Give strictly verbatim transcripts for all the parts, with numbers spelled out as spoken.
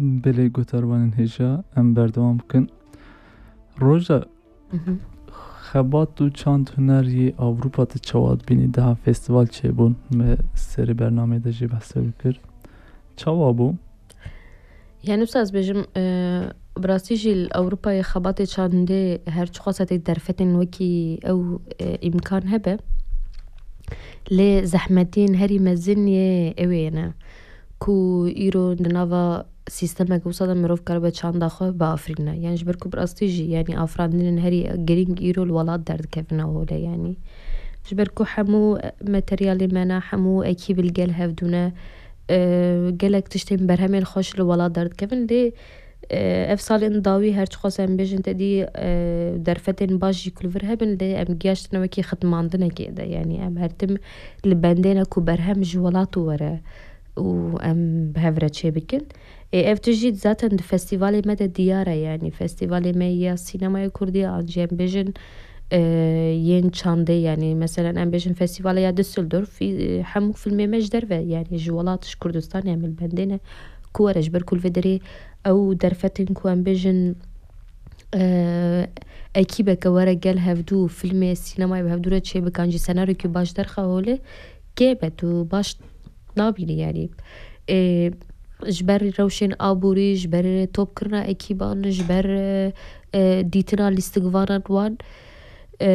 Belê, guhdarvanên hêja, em berdewam bikin. Roja, Mhm. xebat û çand huner yê Ewropa tu çawa dibînî? Daha festival çêbûn, me serê bernameyê de jî behs wê kir. Çawa bû? Yani, wisa ez bêjim, e, bi rastî jî li Ewropayê xebatê çandê her çiqas tê derfetên wekî ew, e, îmkan hebe. Lê zehmetiyên herî mezin yê ew ê ne ku îro di nava sîstemek wisa de mirov karibe çanda xwe biafirîne. Yani ji ber ku bi rastî jî, yani afirandinên herî girîng îro li welat derdikevine holê yani. Ji ber ku hemû materyalê me ne, hemû ekîb li gel hevdû ne, e, gelek tiştên berhemên xweş li welat derdikevin. Lê, e, ev salên dawî her çiqas em bêjin te dî, e, derfetên baş jî ku li vir hebin, lê em giyaştine wekî xitmandinekê de. Yani em her tim li bendê ne ku berhem ji welat were û em bi hev re çê bikin. Ê, ev tişt jî zaten di festîvalê me de diyar e, yani festîvalê me ya sînemaya kurdî an jî em bêjin, e, yên çandê, yani meselen em bêjin festîvala ya Düsseldorf, e, hemû filmê me ji derve, yani ji welat, ji Kurdistanê em li bendê ne ku were, ji ber ku li vê derê ew derfetên ku em bêjin, e, ekîbeke were gel hevdû filmê, sînemayê bi hevdû re çêbikan jî senaryokî baş derxe holê, kêm e, tu baş nabînî, yani. E, ji ber rewşên aborî, ji ber topkirina ekîban, ji ber, e, e, dîtina lîstikvanan wan. E,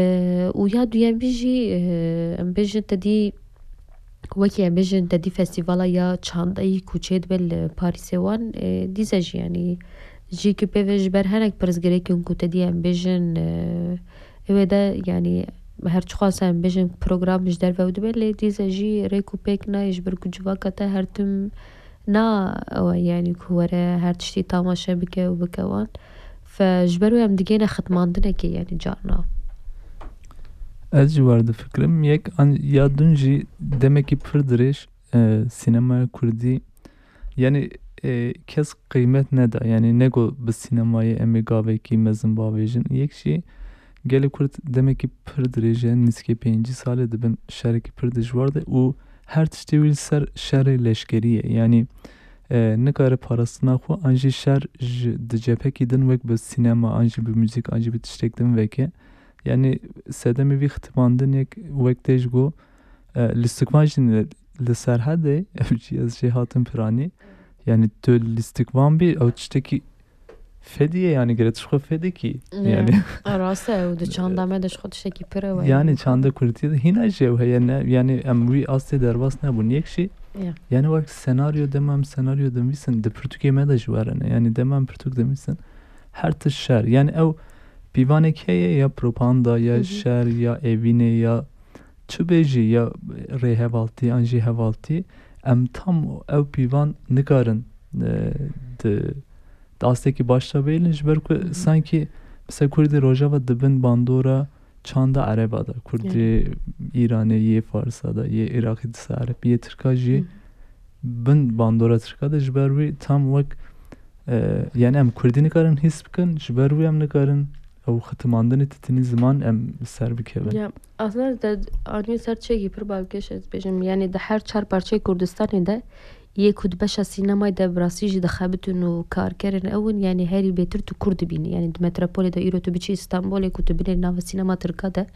û ya duyemî jî, e, em bêjin te dî, wekî em bêjin te dî festîvala ya çandeyî ku çêdibe li Parîsê wan, e, dîse jî, yani, jî ku pê ve ji ber hinek pirsgirêkên ku te dî em bêjin, e, ew ê de, yani, her çiqas em bêjin program ji derve ew dibe, lê dîse jî rêk û pêk nayê, ji ber ku civaka te her tim na ew e, yani, ku were her tiştî tamaşe bike û bike wan. Fe ji ber wê em digêne xitmandinekê, yani, carna. Ez jî wer difikirim. Yek an, ya din jî demekî pir dirêj, e, sînemaya kurdî, yani, e, kes qîmet neda. Yani, nego bi sînemayê em ê gavekî mezin bavêjin. Yek jî gelê kurd demekî pir dirêj e, nîzikê pêncî salê dibin şerekî pir dijwar de û her tiştê wî li ser şerê leşkerî ye. Yani, e, nikare parastina xwe an jî şer ji, di cephekî din wek bi sînema, an jî bi muzîk, an jî bi tiştek din veke. Yani, sedemê vî xitibandinê wek tê ji go, e, lîstikvan jî li, li Serhedê, ev jî ez jê hatim piranî. Yani, tu lîstikvan bî, ew tiştekî fedî ye, yani, gere tu ji xwe fedekî. Ne. Yani. A, rast e, ew di çanda me de ji xwe tiştekî pir e, Yani, yani. çanda kurdî de hîna jî ew heye, ne, yani, em wî astê derbas nebûn. Yek jî, Ya. yani, wek senaryo, dema em senaryo dinivîsin, di pirtûkê me de jî were ne. Yani, dema em pirtûk dinivîsin, her tişt şer. Yani, ew pîvanek heye, ya propaganda, ya Hı hı. şer, ya evînê, ya çi bêjî, ya rêhevaltî, an jî hevaltî, em tam ew pîvan nikarin, e, di, di astekî baş de bêlin, ji ber ku Hı hı. sankî, mesela, Kurdê Rojava dibin bandora çanda Ereba de, Kurdê Evet. Îranê, yê Farsa de, yê Iraqî disa Ereb, yê Tirka jî Hı. bin bandora Tirka de, ji ber wî tam wek, e, yani, em Kurdî nikarin hîs bikin, ji ber wî em nikarin ew xitimandinê titinî ziman em li ser bikevin. Ya, aslında te anî ser çêkî pir balkêş ez bêjim. Yani, di her çar parçeyê Kurdistanê de yê ku di beşa sînemayê de bi rastî jî dixebitin û karkerin ew in, yani, herî bêtir tu Kurd dibînî. Yani, di metropolê de îro tu biçî Stenbolê ku tu binêrî nava sînema Tirka de,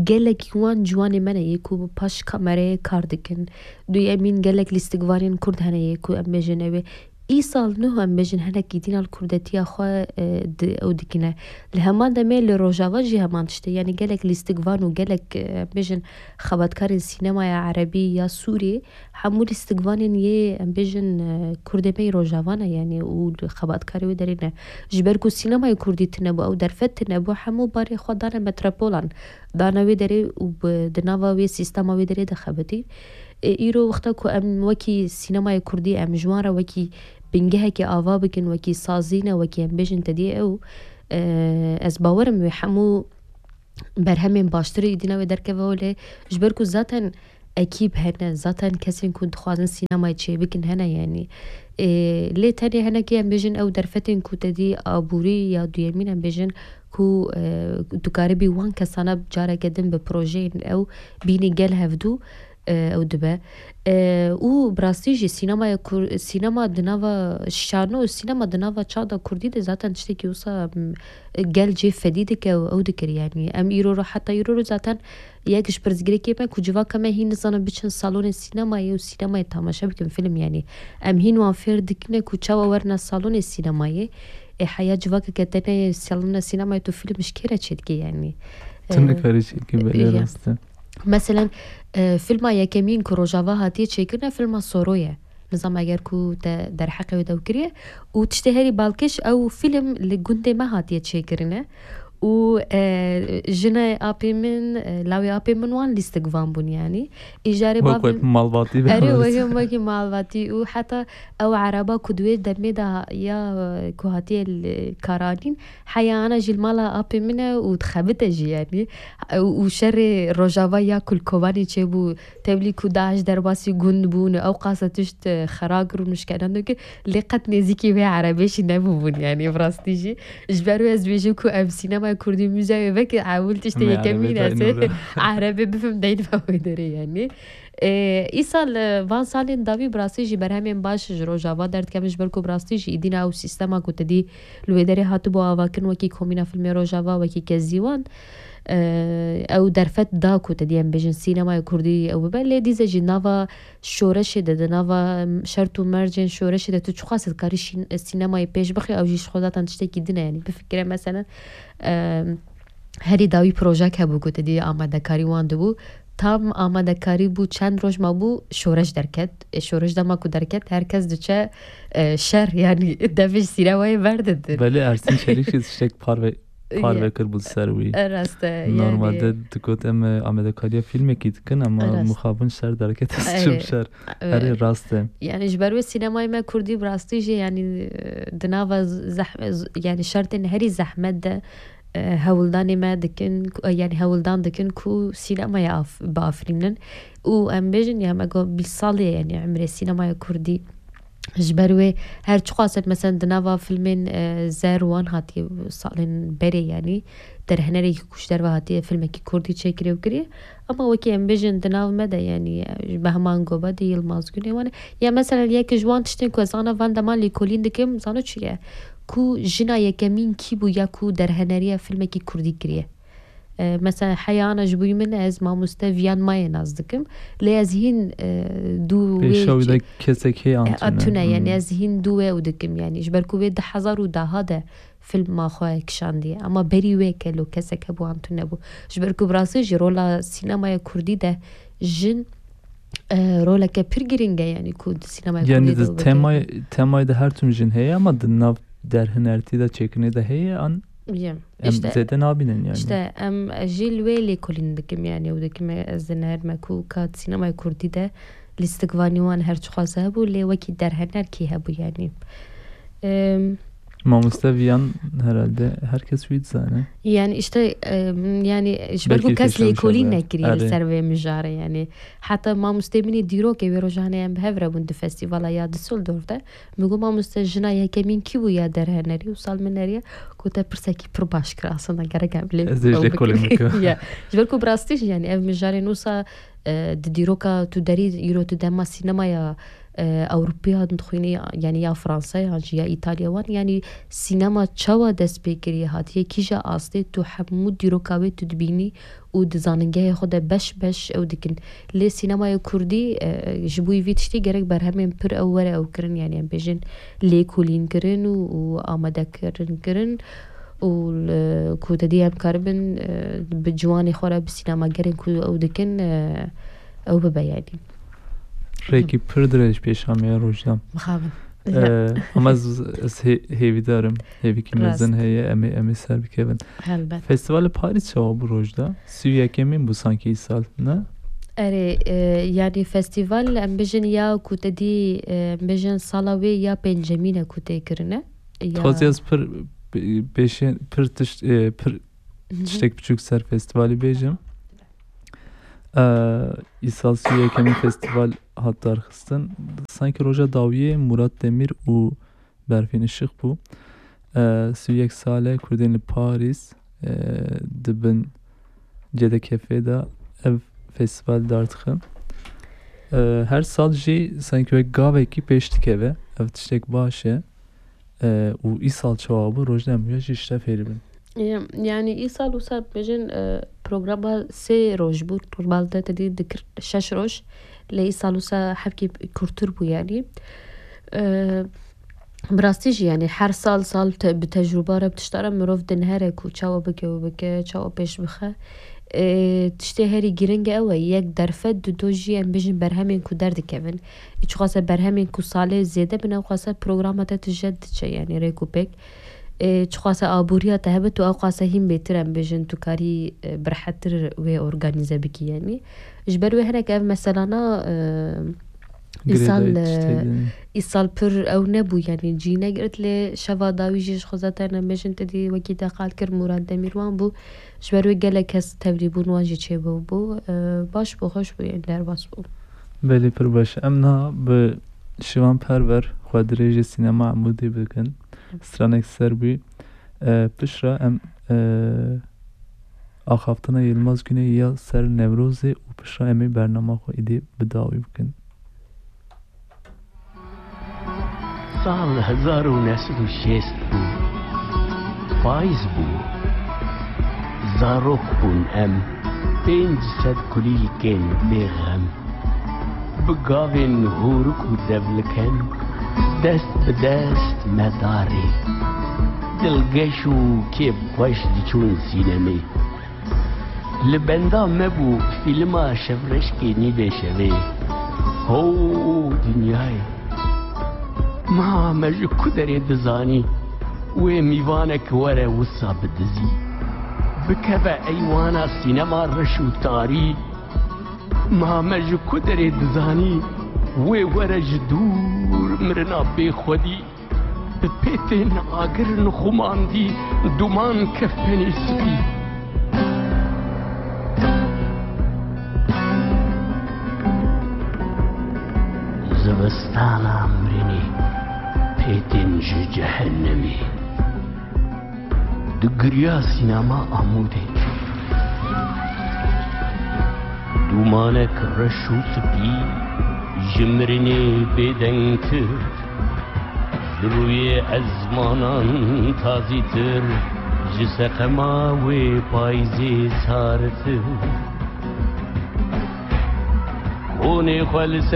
gelekî wan ciwanê me ne yê ku bi paş kamerayê kar dikin. Duyemîn, gelek lîstikvanên Kurd hene yê ku em bêjin ew ê. Îsal nuh em bêjin hinekî dîna li kurdetiya xwe, e, di, ew dikine. Li heman demê li Rojava jî heman tişt e. Yani gelek lîstikvan û gelek, e, em bêjin xebatkarên sînemaya erebî ya Sûrî, hemû lîstikvanên yê, em bêjin, e, Kurdê me yê Rojava ne, yani, û li xebatkarê wê derê ne. Ji ber ku sînemayê Kurdî tune bû, ew derfet tune bû, hemû barê xwe dane metropolan, dane wê derê û bi, di nava wê sîstema wê derê de xebitî. E, îro wexta ku em wekî sînemayê Kurdî, em ji wan re wekî bingehekê ava bikin, wekî sazî ne, wekî em bêjin tedî ew, e, ez bawerim wê hemû berhemên baştir ê dîna wê derkeve holê, ji ber ku zaten ekîb hene, zaten kesên ku dixwazin sînemayê çêbikin hene, yani. E, lê tenê hinekî em bêjin ew derfetên ku te dî aborî ya duyemîn em bêjin ku, e, tu karibî wan kesana careke din bi projeyên ew bînî gel hevdû. e, ew dibe. E, û bi rastî jî sînemaya Kur-, sînema di nava şano û sînema di nava çax de kurdî de zaten tiştekî wisa, m, gel cê fedî dike û ew dikir, yanî em îro ro, heta îro ro zaten yek ji pirsgirêkê me ku civaka me hîn nizanin biçin salonê sînemayê û sînemayê tamaşe bikin film, yanî em hîn wan fêr dikine ku çawa werine salonê sînemayê. Ê heya civakeke te neyê salona sînemayê, tu film ji kê re çêdikî, yanî? Tu Ee, nikarî çêdikî, belê, ya. Rast e. Meselen, e, filma yekemîn ku Rojava hatiye çêkirine, filma Soro ye. Nizam eger ku te derheqê wê dew kiriye. Û tiştê herî balkêş, ew film li gundê me hatiye çêkirine. Û, e, jinê apê min, e, lawê apê min wan lîstik van bûn, yanî. Îjarê Wek, bavê wek malbatî be. Erê, wekî, wekî malbatî. Û heta ew ereba ku di wê demê de ha-, ya, e, ku hatiye li karanîn, heya ana jî li mala apê min e û dixebite jî, yanî. Û, û şerê Rojava ya ku li Kobanê çêbû, tevlî ku DAIŞ derbasî gund bûn, ew qasa tişt, e, xera kir û nişkenen dikir, lê qet nêzîkî vê erebê jî nebûbûn, yanî bi rastî jî. Ji ber wê ez dibêjim ku ev sînemaya kurdî, muzeyê veke ewil tiştê Em ê yekemîn erebê ez ê dayîn were. Erebê bifim deyn ve wê derê, yanî. Ê, îsal, e, van salên dawî bi rastî jî berhemên baş ji Rojava derdikevin, ji ber ku bi rastî jî îdîna ew sîstema ku te dî li wê derê hatibû avakirin, wekî Komîna Filmê Rojava, wekî Kezîwan, e, ew derfet da ku te dî, em bêjin, sînemaya kurdî ew bibe. Lê dîse jî nava şoreşê de, di nava şert û mercên şoreşê de tu çiqas dikarî şîn-, sînemayê pêş bixî, ew jî ji xwe zaten tiştekî din e. Yanî bifikire, meselen, e, herî dawî projek hebû ku te dî amadekarî wan dibû. Tam amadekarî bû, çend roj mabû, şoreş derket. E, şoreş dema ku derket, her kes diçe, e, şer, yanî devê ji sînemayê berdidin. Belê, Ersîn Çelîk jî tiştek parve-, parve kir bû ser wî. E, rast e, yanî. Normalde digot, em, e, amadekariya fîlmekî dikin, ama Rast. Mixabin şer derket, ez Erê. çim şer. E, Erê, rast e. Yanî ji ber wê sînemayê me kurdî bi rastî jî, yanî, e, di nava zeh-, z-, yanî şertên herî zehmet de, e, hewldanê me dikin, ku, e, yanî hewldan dikin ku sînemaya af-, biafirînin. Û em bêjin, ya me got bîst salê, yanî emrê sînemaya kurdî. Ji ber wê her çiqas, mesela, di nava filmên, e, zer wan hatiye salên berê, yanî derhenerekî ku ji derve hatiye filmekî kurdî çêkirê û kiriye. Ama wekî em bêjin di nav me de, yanî, e, Behman Goba de, Yilmaz Güney wan e. Ya mesela yek ji wan tiştên ku ez ana van dema lêkolîn dikim, zano çi ye? Ku jina yekemîn kî bû ya ku derheneriya filmekî kurdî kiriye? E, mesela heya ana ji bo min ez mamoste Viyan Mayê nas dikim. Lê ez hîn, e, dû wê Pêşa wî çi-, de kesek hê e, antune. Antune, yanî Hmm. ez hîn dû wê ew dikim, yanî ji ber ku wê di hezar û daha de filma xwe kişandiye. Ama berî wê kelo kesek hebû antune bû. Ji ber ku bi rastî jî rola sînemaya kurdî de jin, e, roleke pir girîng e, yanî ku di sînemaya Yanî kurdî de di weke temayê, temayê de her tim jin heye, ama di nav derhinertî de, çêkirinê de heye, an Ye. em İşte, zêde nabînin yanî. İşte em, ez jî li wê lêkolîn dikim, yanî ew dikim, ez dinerime ku ka sînemaya kurdî de lîstikvanî wan her çiqas hebû, lê wekî derhener kî hebû, yanî. Em, Mamoste Viyan herhalde herkes wî dizane. Yanî işte, em, yanî ji ber ku Belkî kes têşan lêkolîn şabe. Nekiriye li Erê. ser vê mijarê, yanî. Heta mamostê min ê dîrokê wê rojanê em bi hev re bûn di festîvala ya Düsseldorf de. Min got, "Mamoste, jina yekemîn kî bû ya derhenerî?" Û sal min neriye, got, "Te pirsekî pir baş kir, aslında gerek em lê Ez ê ji ew lêkolîn bikin." bikim. Ya. Ji ber ku bi rastî jî, yanî ev mijarên wisa, e, di dîroka tu derî îro tu dema sînemaya, e, Ewropiya dixwînî, yanî ya Fransa, yan jî ya Îtalya wan, yanî sînema çawa dest pê kiriye, hatiye kîja astê, tu hemû dîroka wê tu dibînî û di zanîngehê xwe de beş beş ew dikin. Lê sînemaya kurdî, e, ji bo vî tiştî gerek berhemên pir ew were ew kirin, yanî em bêjin lêkolîn kirin û, û amadekirin kirin û li, ku te dî em karibin, e, bi ciwanê xwe re bi sînemagerên ku ew dikin, e, ew bibe, yanî. Rêkî pir dirêj pêşa me ye, Rojda. Mixabin. Ee, ama ez, ez hê-, hêvîdar im. Hêvîkî Rast. mezin heye, em ê, em ê ser bikevin. Helbet. Festîvalê Parîs çawa bû, Rojda? Sî û yekemîn bû sankî îsal, ne? Erê, e, yanî festîval, em bêjin ya ku te dî, e, em bêjin sala wê ya pêncemîn e ku tê kirine. Ya Dixwazî ez pir, pê-, pêşên, pir tişt, e, pir Mhm. tiştek biçûk ser festîvalî bêjim. Ee, îsal sî û yekemîn festîval hat darxistin. Sankî roja dawiyê Murat Demir û Berfîn Işık bû. Ee, sî û yek sal e Kurdên li Parîs, ee, di bin C D K F'ê de ev festîval dar dixin. E, her sal jî sanki wek gavekî pêş dikeve. Ev tiştek baş e. E, û îsal çawa bû, rojda em jî ji te fêr bin. E, yani îsal wisa bêjin, e, programa sê roj bû. Normalde te dî dikir şeş roj. Lê îsal wisa hevkî kurtir bû yani. E, bi rastî jî yani her sal sal te, bi tecrûba re, bi tişta re mirov dinhere ku çawa bike û bike, çawa pêş bixe. E, tiştê herî giring ew e, yek derfet, dudo jî em bêjin berhemên ku derdikevin. Çiqase berhemên ku salê zêde bin, ew qase programa te tije diçe, yani rêk û pêk. E, çiqase aboriya te hebe, tu ew qase hîn bêtir em bêjin, tu karî, e, bi rehettir wê organîze bikî yani. Ji ber wê hinek ev meselana, e, îsal, Girêdayî tiştê e, din. Îsal pir ew nebû yani, cî negirt, lê şeva dawî jî ji xwe zaten em bêjin te dî wekî te qal kir Murad Demîrvan bû. Ji ber wê gelek kes tevlî bûn, wan jî çêbû bû. E, baş bû, xweş bû, yên derbas bû. Belê, pir baş. Em niha bi Şivan Perwer xwe dirêjê Sînema Amûdê bikin. Stranek ser bû. E, piştre em, e, axaftina Yilmaz Güney ya ser Newrozê û piştre em ê bernama xwe êdî bi dawî bikin. Sal hezar û neh sed û şêst bû. Payîz bû. Zarok bûn em. Pênc sed kulîlkên bêxem. Bi gavên hûrik û devliken dest bi dest me darê. Dilgeş û kêfxweş diçûn sînemê. Li benda me bû fîlma Şevreşkê nîvê şevê. Ho dinyayê! Ma me ji ku derê dizanî wê mîvanek were wisa bidizî? Bikeve eywana sînema reş û tarî. Ma me ji ku derê dizanî wê were ji dûr mirina bêxwedî? Bi pêtên agir nixumandî duman kefenê spî. Zivistana mirinê, pêtên ji cehennemê. Digiriya sînema Amûdê. Dûmanek reş û spî ji mirinê bêdengtir, ji rûyê ezmanan tazîtir, ji seqema wê payîzê sartir. Konê xwe li